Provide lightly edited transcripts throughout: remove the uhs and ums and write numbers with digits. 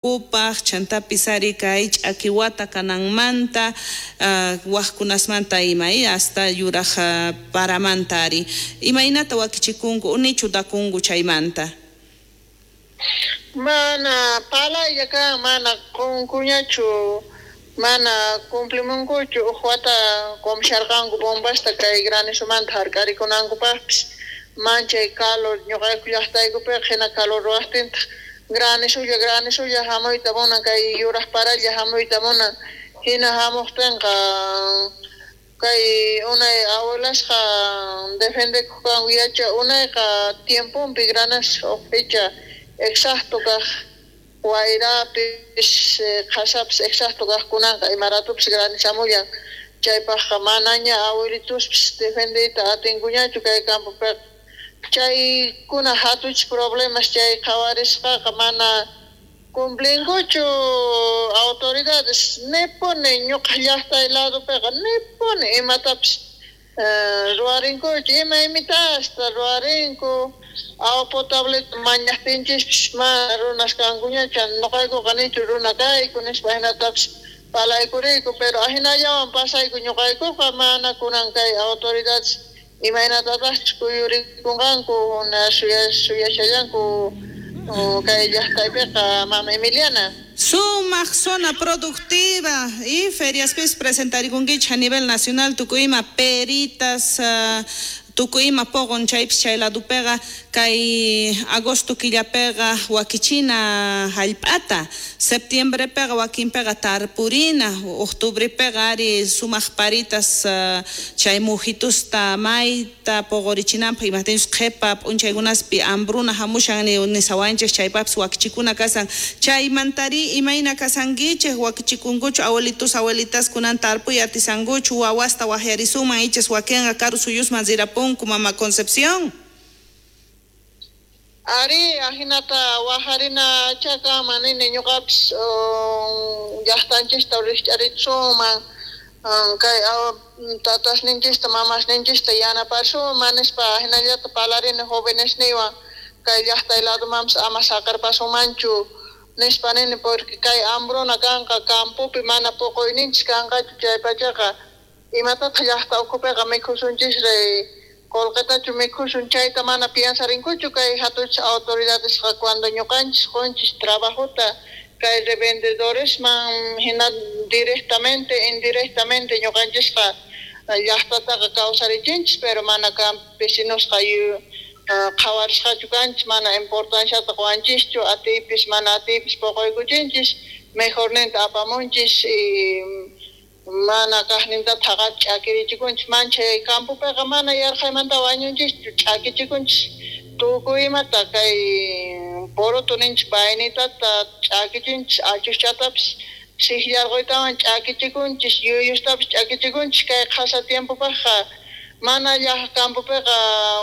Upaj chantapis ari kay ch'aki wata kananmanta, wajkunasmanta ima hasta yuraj paramanta ari imaynata wakichikunku unichu dakunku chaymanta? Mana palaylla kan, mana qunkuñachu, mana cumplimunkuchu. Uj wata qumusharqanku bombasta kay granizomanta hark'arikunankupaqpis, manchay calor ñuqayku llaqtaykupiqa, hina calor ruwaqtintaq granizulla granizulla hamuyta munan, kay yuraq paralla hamuyta munan. Hina hamuqtinqa kay unay abuelasqa defendekuq kanku, yacha unayqa tiemponpi granizo uj fecha exacto kaq, wayrapis qhasapis exacto kaq. Kunanqa ima ratupis granizamullan. Chaypaqqa manaña abuelitospis defendeyta atinkuñachu kay campopiqa. Chaykuna hatuchis problemas chay qhawarisqaqa mana cumplinkuchu autoridades, nipuni ñuqa llaqtay ladopiqa nipuni imatapis ruwarinkuchu, ima imitasta ruwarinku. Agua potableta mañaqtinchispis mana runas kankuñachu, ñuqaykuqa nichu runa kayku nispa hinatapis palaykuriyku, pero ahinallawan pasayku ñuqaykuqa. Mana kunan kay autoridades imaynatataqchus kuyurikunqanku suyashallanku kay llaqtaypiqa, mama Emiliana. Sumaq zona productiva y feriaspis presentarikunkichik a nivel nacional, tukuy ima peritas, tukuy ima poqon chaypis chay ladopiqa. Kay agosto killapiqa wakichina hallp'ata, septiembrepiqa wakinpiqa tarpurina, octubrepiqa ari sumaq paritas chay mujitusta mayta poqorichinanpaq, imajtinchus qhipa p'unchaykunaspi hambruna hamushan nisawanchik, chaypaqpis wakichikuna kasan. Chaymantari imayna kasankichik? Wakichikunkuchu abuelitos, abuelitas kunan tarpuy atisankuchu? Wawasta waqyarisuman, ichas wakinqa karu suyusman rirapunku, mama Concepción. Ari, ahinata wajarina chakaman nini ñuqapis, llaqtanchista rikch'arichisuman, kay tatasninchista mamasninchista yanaparisuman nispa hinallata parlarini jovenesniywan, kay llaqtay ladomanpis ama saqerpasumanchu nispa nini, porque kay hambruna kanqa campopi, mana puquyninchis kanqachu chaypachaqa. Imatataq llaqta ukhupiqa mikhusunchisri? Qullqitachu mikhusun? Chayta mana piensarinkuchu kay hatuchis autoridadesqa, cuando ñuqanchis qunchis trabajota kay revendedoresman, hina directamente, indirectamente ñuqanchisqa llaqtataqa kawsarichinchis, pero mana campesinosqa qhawarisqachu kanchis, mana importanciata quwanchischu. Atiypis mana atiypis puquykuchinchis, mejorninta apamunchis y mana kaqninta thaqapi ch'akirichikunchis. Manchay campopiqa mana yarqhaymanta wañunchischu, ch'akichikunchis tukuy imata, kay poroto ninchis vainitata ch'akichinchis, achuschatapis sikllarquytawan ch'akichikunchis, yuyustapis ch'akichikunchis. Kay qhasa tiempopaqqa mana llaq campopiqa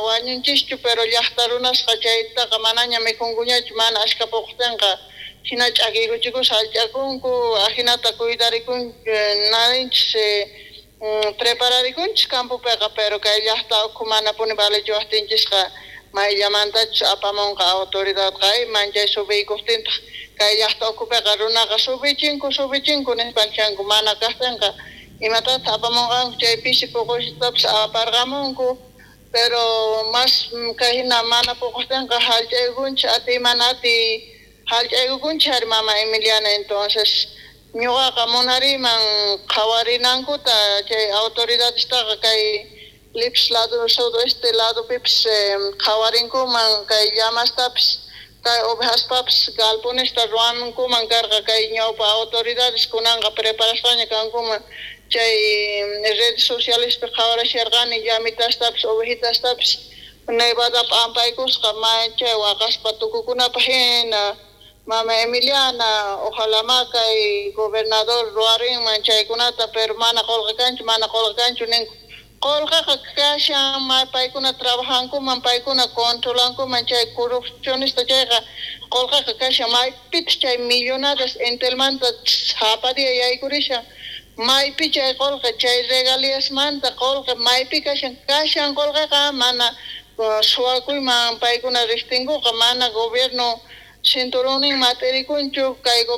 wañunchischu, pero llaqta runasqa chaytaqa manaña mikhunkuñachu mana ashka puqtinqa. Hina ch'akiykuchikus hallch'akunku. Ajinata cuidarikun narinchis, prepararikunchis campopiqa, pero kay llaqta ukhu manapuni valechiwaqtinchisqa mayllamantachus apamunqa autoridadqa. Manchay subiykuqtintaq kay llaqta ukhupiqa runaqa subichinku, subichinku nispan chanku. Mana kaqtinqa imatataq apamunqanku? Chay pisi puqushtapis aparqamunku, pero mas kay hina mana puquqtinqa hallch'aykunchis, atiy mana atiy hallch'aykukunchis ari, mama Emiliana. Entonces ñuqaqa munariyman qhawarinankuta chay autoridadestaqa, kay Lipis lado, sudoeste ladopipis qhawarinkuman kay llamastapis, kay ovejaspapis galponesta ruwankuman karqa kay ñawpa autoridades. Kunanqa preparasqaña kankuman. Chay redes socialespi qhawarasharqani llamitastapis ovejitastapis nevada p'ampaykusqa, manchay waqaspa tukukunapaq hina, mama Emiliana. Ojalá ma kay gobernador ruwarinman chaykunata, pero mana qullqi kanchu, mana qullqi kanchu ninku. Qullqiqa kashan, ma paykuna trabajankuman, paykuna controlankuman chay corrupcionista chayqa qullqiqa kashan. Maypitaq chay millonadas Entelmanta sapa día yaykurishan? Maypi chay qullqi, chay regalíasmanta qullqi maypi kashan? Kashan qullqiqa, mana suwakuyman paykuna riqtinkuqa, mana gobierno. Cinturonnin mat'irikunchu kay.